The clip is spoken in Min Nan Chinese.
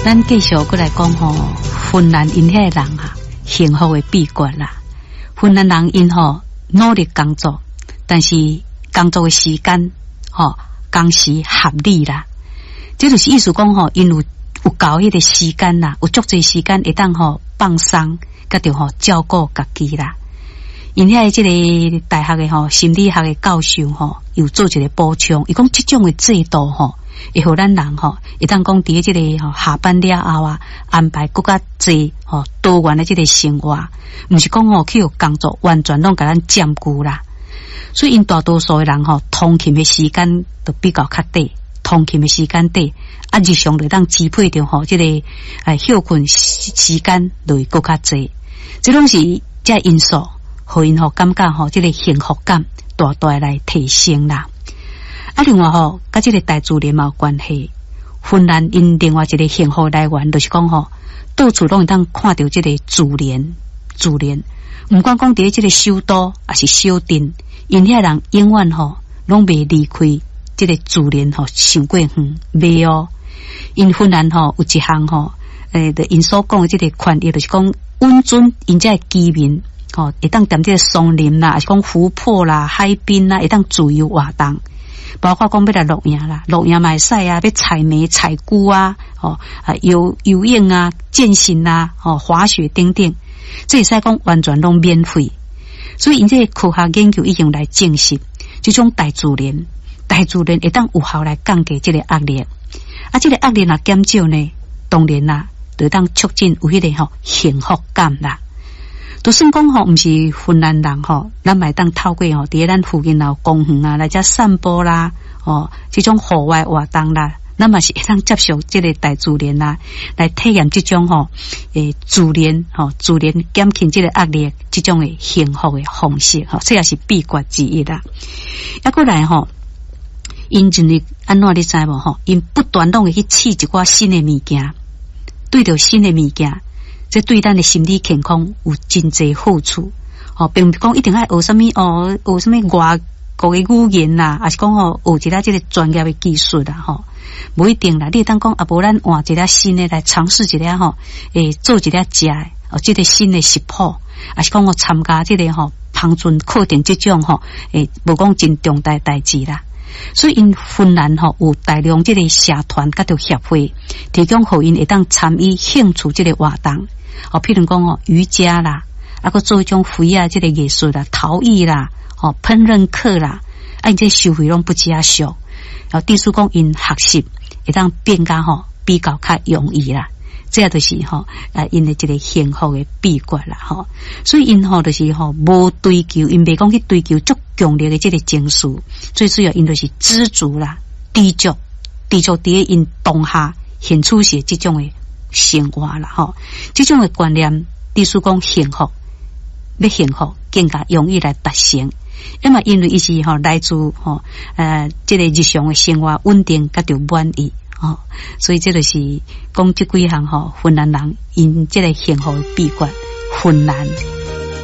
咱繼續閣來講吼，芬蘭𪜶遐的人啊，幸福的秘訣啦。芬蘭人𪜶吼努力工作，但是工作的時間吼工時合理啦。這就是意思講吼，𪜶有夠彼個時間啦，有足濟時間會當吼放鬆，佮著吼照顧家己啦。𪜶遐的這个大學的吼心理學的教授吼，有做一个補充，伊講這種的制度吼，會予咱人吼，會當講佇這个吼下班了後啊，安排閣較濟吼多元的這个生活，毋是講吼去予工作完全攏共咱佔據啦。所以𪜶大多數的人吼，通勤的時間都比較較短，通勤的時間短，啊，日常就當支配著吼這个歇睏時間就會閣較濟，這攏是這因素，予𪜶吼感覺吼這个幸福感大大來提升啦。啊，另外吼，佮這个大自然嘛有關係。芬蘭𪜶另外一个幸福來源，就是講吼，到處攏會當看著這个自然，自然。毋管講佇這个首都，抑是小鎮，𪜶遐人永遠吼攏袂離開這个自然吼，傷過遠，袂哦。𪜶芬蘭吼有一項吼，𪜶所講的這个權益，就是講允准𪜶遮的居民吼，會當踮這个松林啦，抑是講湖泊啦、海濱啦，會當自由活動。包括講欲來露營啦，露營嘛會使啊，欲採莓、採菇啊，吼啊游游泳啊、健行啊、吼滑雪等等，這會使講完全攏免費。所以𪜶這个科學研究已經來證實，這種大自然，大自然會當有效來降低這个壓力。啊，這个壓力若減少呢，當然啦，就會當促進有彼个吼幸福感啦。就算講吼，毋是芬蘭人吼，咱嘛會當透過吼，佇咧咱附近有公園啊，來遮散步啦，吼，這種戶外活動啦，咱嘛是會當接觸這个大自然啦，來體驗這種吼，自然吼，自然減輕這个壓力，這種的幸福的方式吼，這也是秘訣之一啦。抑閣來吼，𪜶認為按怎你知無吼？𪜶不斷攏會去試一寡新的物件，對著新的物件。這對咱的心理健康有真濟好處，吼，並毋是講一定愛學啥物哦，學啥物外國的語言啦，抑是講吼學一寡這个專業的技術啦，吼，無一定啦。你會當講啊，無咱換一个新的來嘗試一下吼，做一个食的哦，這个新的食譜，抑是講我參加這个吼烹飪課程這種吼，無講真重大代誌啦。所以𪜶芬蘭吼有大量這个社團佮著協會，提供予𪜶會當參與興趣這个活動。哦，譬如講吼瑜伽啦，啊，閣做彼種花仔這个藝術啦、陶藝啦、吼烹飪課啦，啊，𪜶這收費攏不只俗。然後，意思講𪜶學習會當變較吼比較較容易啦。這就是吼啊，𪜶的一个幸福的秘訣啦吼。所以𪜶吼就是吼無追求，𪜶袂講去追求足強烈的這个情緒，最主要𪜶就是知足啦、知足、知足佇咧𪜶當下現處時這種的生活啦吼，這種的觀念，意思講幸福，欲幸福更加容易來達成。因為因為伊是吼來自吼這个日常的生活穩定，佮著滿意吼，所以這就是講這幾項吼芬蘭人𪜶這个幸福的秘訣。芬蘭。